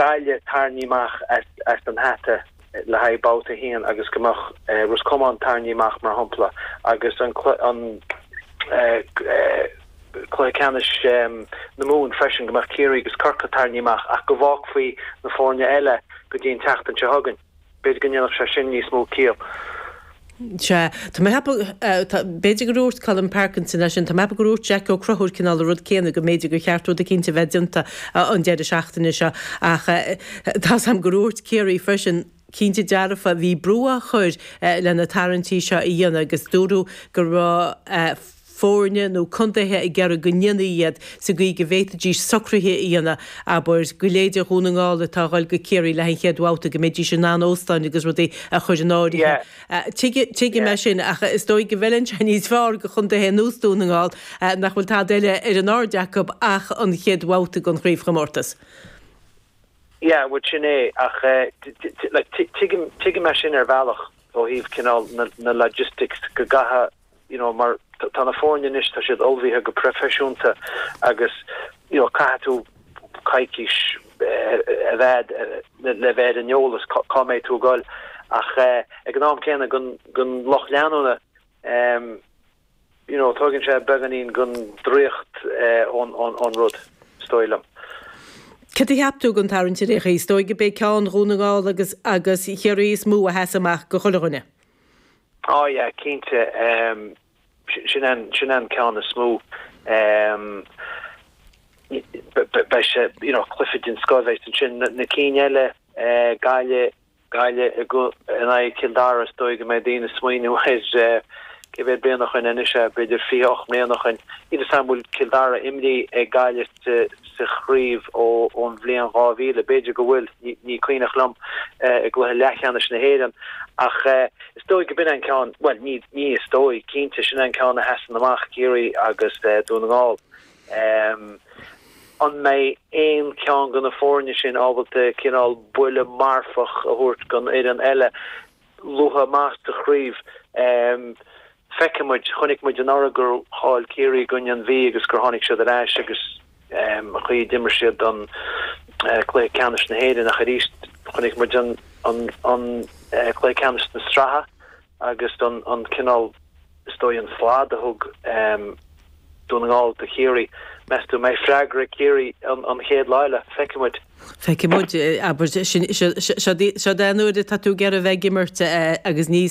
Gaillimh tarraingthe amach as an hata le haghaidh babhta a haon agus go mbeadh Ros Comáin tarraingthe amach mar shampla agus an cluiche ceannais na Mumhan freisin, go mbeadh Ciarraí agus Corcaigh tarraingthe amach ach go bhfágfaí na foirne eile go dtí an tseachtain seo chugainn. B'fhéidir go ndéanfadh sé sin níos mó ciall. Sea. Tá mé ag ceapadh, b'fhéidir gur dhúirt Colm Parkinson é sin, tá mé ag ceapadh gur dhúirt Jack Ó Conchúir cineál an rud céanna, go mb'fhéidir gur cheart rud eicínt a bheith déanta an deireadh seachtaine seo. Ach tá's a'm gur dhúirt Ciarraí freisin, cinnte dearfa, bhí brú á chur le na tarraingtí seo a dhéanamh agus dúradh go raibh foirne nó contaetha ag iarraidh go ndéanfaí iad sa gcaoi go bhféadfaidís socruithe a dhéanamh, abair, go leithéide Dhún na nGall atá a dhul go Ciarraí le haghaidh an chéad bhabhta, go mbeidís in ann óstáin agus rudaí a chur in áirithe. Tuigim é sin, ach is dóigh go bhfeileann sé níos fearr do chontaetha ar nós Dún na nGall nach bhfuil tada eile ar an aird acu ach an chéad bhabhta den chraobhchomórtas. Yeah, bhuel sin é, ach like tuigim, tuigim é sin ar bhealach ó thaobh cineál na, na logistics go gcaithfidh, you know mar tá na foirne anois, tá siad ullmhaithe go proifisiúnta agus you know caithfidh tú coicís a bheith le bheith ar an eolas cá mbeidh tú ag dul ach ag an am céanna don, don lucht leanúna you know tógann sé beagáinín den draíocht ón rud, is dóigh liom. Cad a cheap tú den tarraingt ar aon chaoi? Is dóigh go b'é ceann Dhún na nGall agus agus Chiarraí is mó a sheas amach do chuile dhuine. Oh yeah, cinnte. Sin an sin an ceann is mó. Beidh sé, you know, cluiche den scoth a bheas ansin. Na cinn eile, Gaillimh, Gaillimh in aghaidh Chill Dara, is dóigh go mbeidh daoine ag smaoineamh ar cé mhéad bliain ó shoin anois é, b'fhéidir 28 mbliana ó shoin. Níl 'fhios a'm an bhfuil Cill Dara imrithe ag Gaillimh sa chraobh ón bhliain 2000, b'fhéidir go bhfuil, ní cuimhneach liom, i gcluiche leathcheannais na hÉireann. Ach is dóigh go b'in an ceann, bhuel ní is dóigh, cinnte, sin an ceann a sheasann amach, Ciarraí agus Dún na nGall. An mbeidh aon cheann de na foirne sin ábalta cineál buille marfach a thabhairt don fhoireann eile luath amach sa chraobh? Feicfidh muid. Chonaic muid anuraidh gur chaill Ciarraí i gcoinne an Mhí agus gur tháinig siad ar ais agus an chaoi a d'imir siad an cluiche ceannais na hÉireann ach arís chonaic muid an cluiche ceannais na sraithe agus an cineál is dóigh an slad a thug Dún na nGall do Chiarraí. Meas tú an mbeidh freagra ag Ciarraí an chéad lá eile? Feicfidh muid. Feicfidh muid. Abair, seod é an uair atá tú ag iarraidh a bheith ag imirt agus ní.